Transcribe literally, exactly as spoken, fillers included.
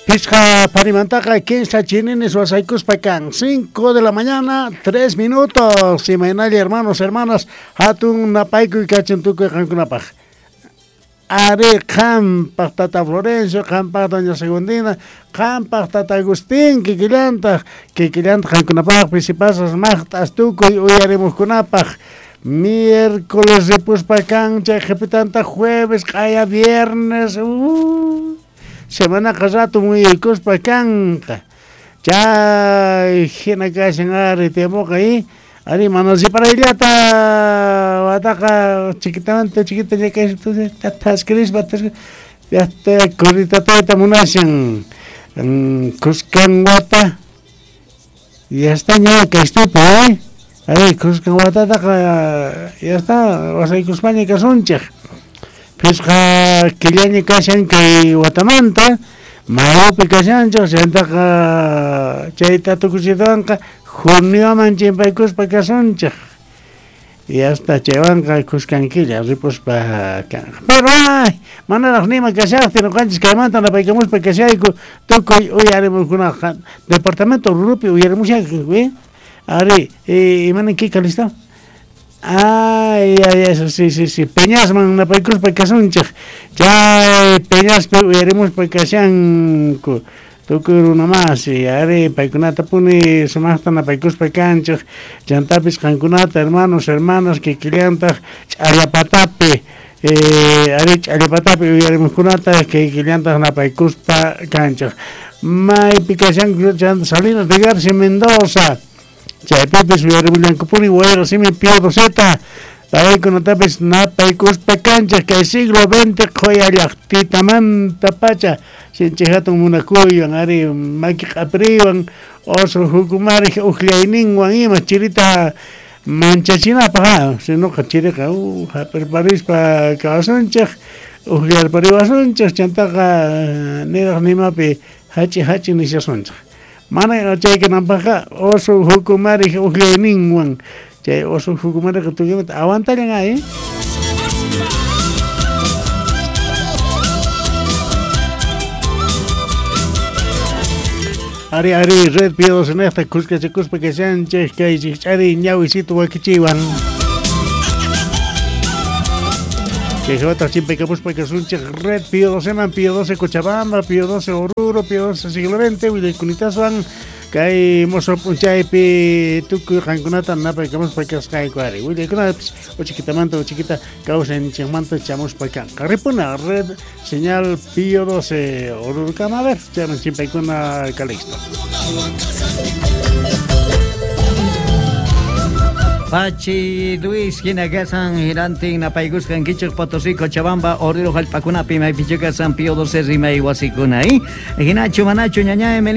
Pisqa parimantaqa kinsa chininis wasaykuspa kan cinco de la mañana, tres minutos. Imaynalla hermanos, hermanas, hatun napaykuy kachin tukuy qankunapaq. Ari qampaq tata Florencio, qampaq doña Segundina, qampaq tata Agustín, kikillantaq, kikillantaq qankunapaq pisipasas maqt'as tukuy uyarimuqkunapaq. Miércoles ripuspa kan, chay qhipitantaq jueves, q'aya viernes, uh, semanaqa rato muyuykuspa kanqa. Chay hina kashan ari tiempoqa y ari mana riparayllata wataqa chiquitamanta chiquita thaskirispa llaqta corritatayta munashan kuskan wata ya está ña kaystupi eh ari kuskan watataqa ya está wasaykuspaña kasunchik. Pisqa killaña kashan kay watamanta mayupi kashanchik chayntaqa chayta tukuchitawanqa junioman chimpaykuspa kasunchik. Y hasta chaywanqa kuskan killa ripuspa kanqa. Pero ay, manaraq nima kashaqtin ñuqanchis kaymanta napaykamuspa kashayku tukuy uyarimuqkunaqa departamento Oruropi uyarimushanku eh ari imananki Calixto? Ay, ay, eso, sí, sí, sí. Peñasman napaykuspa kasunchik. Chay Peñaspi uyarimuspa kashanku. Tukuy runa masi, ari paykunata puni sumaqta napaykuspa kanchik. Chantapis qankunata, hermanos, hermanas, kikillantaq ch'allapatapi, eh, ari ch'allapatapi uyarimuqkunata kikillantaq napaykuspa kanchik. Maypi kashanku chanta Salinas de Garcia Mendoza. Chaypipis uyarimullankupuni wayra simi Pío Doceta. Paykunatapis napaykuspa kanchik kay siglo veinte qhuya llaqtitamanta pacha sinchi hatun munakuywan ari maki q'apiriwan oso hukumariq uqllayninwan ima chirita manchachinapaq ha sinoqa chiriqa uh, hap'irparispa kawsunchik uqllarpariwasunchik chantaqa niraq nimapi hachi hachi nishasunchik. Mana chay kananpaqqa oso hukumariq uqllayninwan chay oso hukumariqa tukuymanta aguantallan ay. Ari ari red Pío doce nesta kuskachakuspa kashanchik kay chikch'ari ñawisito wakichiwan. Chay hawataq chimpaykamuspa kasunchik red Pío doce man, Pío doce Cochabamba, Pío doce Oruro, Pío doce siglo veinte, willaykunitawan kay mozo p'unchaypi tukuy qankunata napaykamuspa kasqayku ari. Willaykunapis uchikitamanta uchiquita kawsayninchikmanta chamuspa kanqa. Ripuna red señal Pío doce Orurokama, a ver, chayman chimpaykuna Calixto. Pachi Luis hina kasan hinantin napaykusqan kichik Potosí Cochabamba Oruro hallp'akunapi maypichu kasan Pío doce rimay wasikuna eh hinachu manachu ñaña Emiliano.